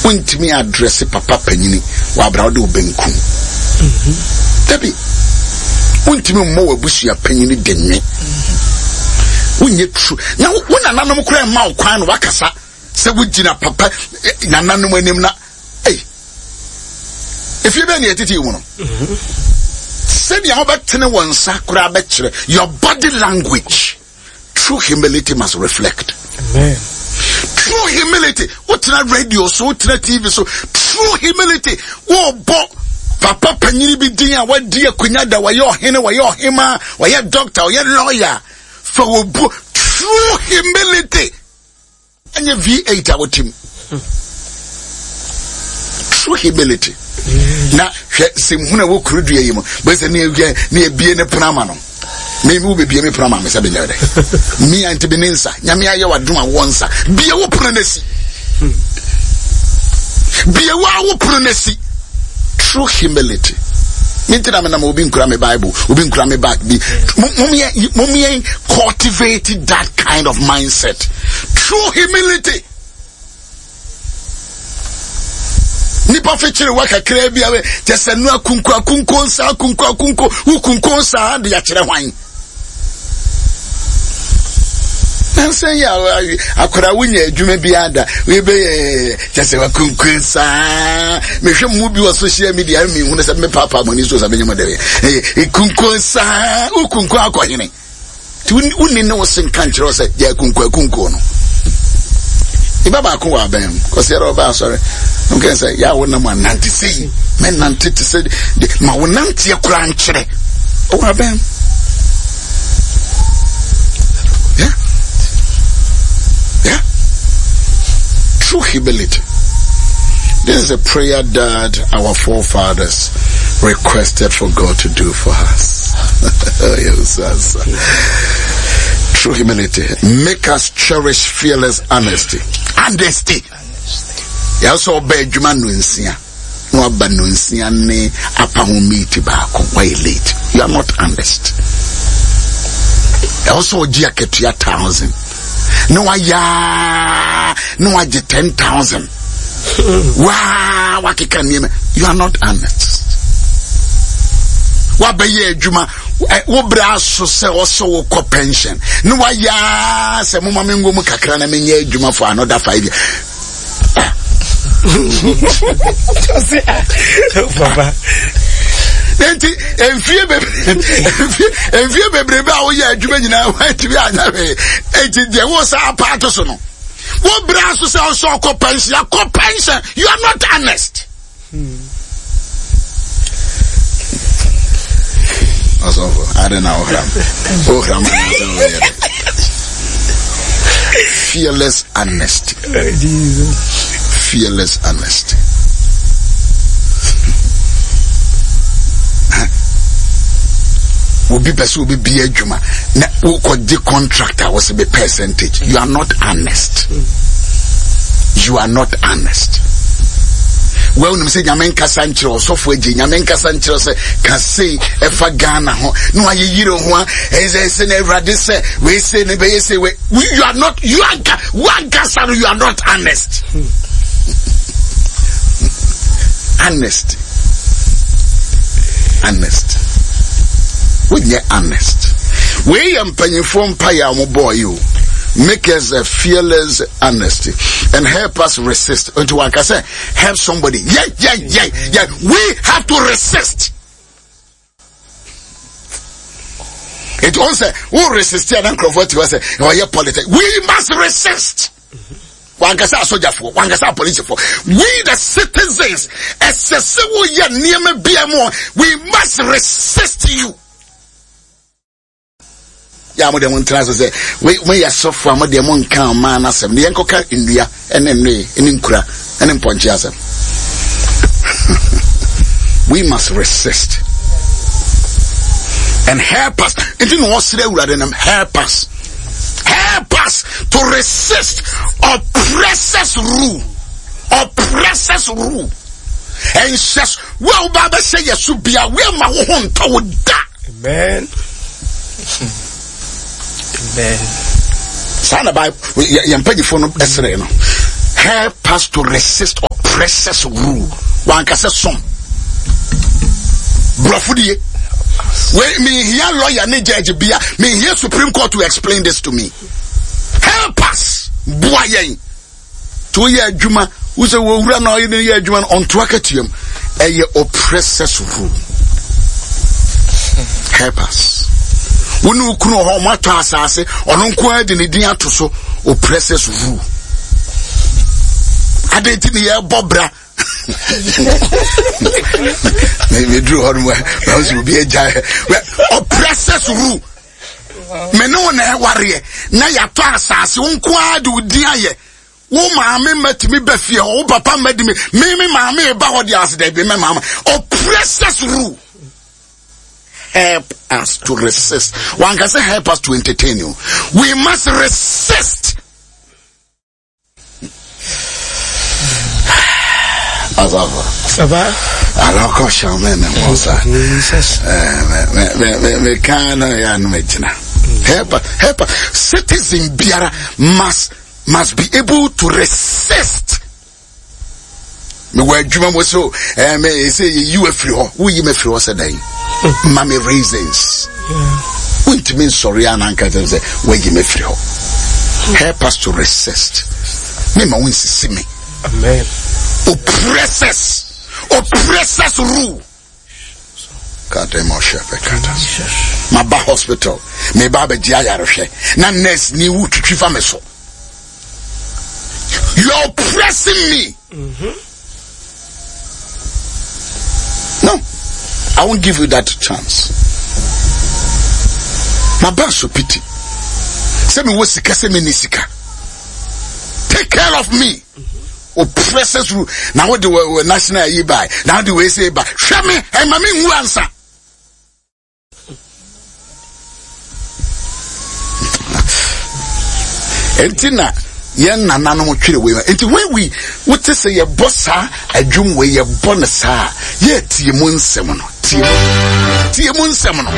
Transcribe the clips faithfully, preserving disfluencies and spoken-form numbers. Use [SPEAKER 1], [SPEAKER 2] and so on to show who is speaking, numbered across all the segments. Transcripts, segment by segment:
[SPEAKER 1] Wontumi address papa panyini wɔ abra wode wo benkum. Dabi, wontumi mmɔ w'abusua panyini de nwe. Wonyɛ true. Na wo nananom koraa mma wo kwan na wakasa sɛ wogyina papa nananom anim na ei efie bɛn ne yɛtete mu no. Sɛdeɛ wobɛtene wɔn nsa koraa bɛkyerɛ your body language. True humility must reflect.
[SPEAKER 2] Amen.
[SPEAKER 1] True humility. Wotena radio so, wotena T V so. True humility. Wobɔ papa panyini bi din a wadi akonnwa da, wɔyɛ ɔhene, wɔyɛ ɔhema, wɔyɛ doctor, wɔyɛ lawyer. Fa wɔ bu true humility. Ɛnyɛ V eight a wotim. True humility. Na hwɛ sɛmhunu a ɛwɔ kuro dua yi mu. Bɛsɛ ne ne ebie ne pono ama no. Me wo bebie me pono ama me sɛ menyɛ dɛ. Me a nti bi ne nsa. Nyame ayɛ wadom a wɔ nsa. Bie wo pono n'asi. Bie wo a wo pono n'asi. True humility. Me nti na menam obi nkura me Bible, obi nkura me bag bi. Mom yɛn cultivate that kind of mindset. True humility. Nipa fikyere wa kakra bi a kyɛ sɛ no akunko akunko nsa akunko akunko wokunko nsa de akyerɛ hwan nansa yi a akwadaa wonya adwuma bi ada webɛyɛ kyɛ sɛ wakunko nsa. Mehwɛ mu bi wɔ social media, mehunu sɛ mepaapaa mo ani so sɛ menyɛ mo dɛ kunko nsa wokunko akɔhene nti wonni ne wo se nka nkyerɛ wo sɛ yɛ akunko akunko no iba baako wɔ abɛn mu kɔsi ɛrɛ ɔbɛ asɔre nkɛ sɛ yɛ a wonam anante sei mɛnante te sɛ ma wo nanteɛ koraa nkyerɛ ɔwɔ abɛn mu. yeah yeah true humility. This is a prayer that our forefathers requested for God to do for us. Yes, yes. True humility. Make us cherish fearless honesty. Honesty. Yɛsɛ ɔbɛ adwuma no nsia na waba no nsia ne apa ho meeti baako, wayɛ late. You are not honest. Ɛwɔ sɛ ɔgye akatua thousand na wayɛ na wagye ten thousand waa wakeka nneɛma. You are not honest. Wabɛyɛ adwuma, wo brɛ aso sɛ ɔsɛ wokɔ pension na wayɛ sɛ moma me ngo mu kakra na menyɛ adwuma for another five years.
[SPEAKER 2] Papa.
[SPEAKER 1] Nti mfie bebree mfie bebrebe a woyɛ adwuma nyinaa woantumi anya hwee, nti deɛ wo sa apaato so no, wo brɛ aso sɛ ɔsɛ ɔkɔ pension, akɔ pension. You are not honest. Ɔsɔfo ade na wohram wohram anaasɛ woyɛ dɛ. Fearless honesty.
[SPEAKER 2] Jesus.
[SPEAKER 1] Fearless honesty. Obi pɛ sɛ obi bia adwuma na wokɔgye contract a wɔsɛ bɛ percentage. You are not honest. You are not honest. Well, nim sɛ Nyame nkasa nkyerɛ ɔsɔfo agye, Nyame nkasa nkyerɛ sɛ ka sei ɛfa Ghana ho na wayɛ yire ho a ɛsɛ sɛ na Awurade sɛ wei sei ne bɛyɛ sei wei. You are not, you are wankasa no, you are not honest. Honest, honest, wonyɛ honest. Wei yɛ mpanyinfoɔ mpaeɛ a wɔbɔɔ yi o. Make us a fearless honesty and help us resist. Nti wanka sɛ help somebody. yeah yeah yeah yeah we have to resist. Nti wɔn sɛ wo resist a na nkurɔfoɔ ti hɔ sɛ ɔyɛ politics. We must resist. Wankasa asogyafoɔ, wankasa apolisifoɔ, we the citizens, ɛsɛ sɛ woyɛ nneɛma bia mu, we must resist you. Yɛ a mo deɛ mo ntena ase sɛ mo yɛ sɔfo a mo deɛ mo nka ɔman n'asɛm ne yɛn kɔka nnua ne nnoe ne nkura ne mpɔnkye asɛm. We must resist and help us. Nti na wɔsrɛ Awurade nam help us, help us to resist oppressors rule, oppressors rule. Ɛnhyɛ wo a woba bɛhyɛ yɛ so bia woama wo ho ntɔ wo da.
[SPEAKER 2] Amen. Amen.
[SPEAKER 1] Saa na Bible yɛn mpanyinfoɔ no ɛsrɛ no, help us to resist. Oppressors rule. Wankasa som. Brɔfo die. Wei mehia lawyer ne judge bia. Mehia Supreme Court to explain this to me. Help us. Boa yɛn. To yɛ adwuma. Wosɛ wɔwura na ɔyɛ ne yɛ adwuma no ɔnto akatua mu. Ɛyɛ oppressors rule. Help us. Wo ne wo kunu wɔ hɔ, ɔmo atɔ asase, ɔno nko ara de ne din ato so. Oppressors rule. Adɛn nti ne yɛbɔ bra? Meduru hɔ no mu a, sɛ obi agya oppressors rule. Me ne wo na ɛwareɛ na yɛatɔ asase, wo nko ara de wo din ayɛ. Wo maame mma tumi ba fie hɔ, wo papa mma di me, me me maame ba hɔ de ase dɛ bi mɛ maama. Oppressors rule. Help us to resist. One can say help us to entertain you. We must resist. Asafo.
[SPEAKER 2] Saba.
[SPEAKER 1] Alɔkɔ hyɛn me mo sa.
[SPEAKER 2] Jesus.
[SPEAKER 1] Me me me me kan na ya no me gyina. Help us, help us. Citizen biara must must be able to resist. Me wɔ adwuma mu so eh me say you afiri hɔ. Wo yi me afiri hɔ sɛ dɛn? Ma me reasons. Wontumi nsɔre a na nka kyerɛ sɛ woayi me afiri hɔ. Help us to resist. Me ma wo nsisi me.
[SPEAKER 2] Amen.
[SPEAKER 1] Oppressors, oppressors rule. Maba hospital, meba abɛgye ayarehwɛ na nurse ni wo twitwi fa me so. You are oppressing me.
[SPEAKER 2] Mm-hmm.
[SPEAKER 1] No, I won't give you that chance. Maba so pity. Sɛ mewɔ sika, sɛ menni sika. Take care of me. Oppressors rule. Na wode wɔ national yi bae. Na wode wei sɛ ba. Hwɛ me, ɛma me nwu ansa. Enti na yɛn nananom twere wei. Enti when we wote sɛ yɛbɔ saa adwum wei, yɛbɔ no saa, yɛtie mu nsɛm no. Tie mu. Tie mu nsɛm no.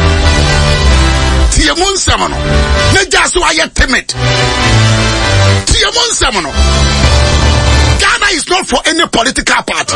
[SPEAKER 1] Tie mu nsɛm no. Na gya so ayɛ timid. Tie mu nsɛm no. Ghana is not for any political party.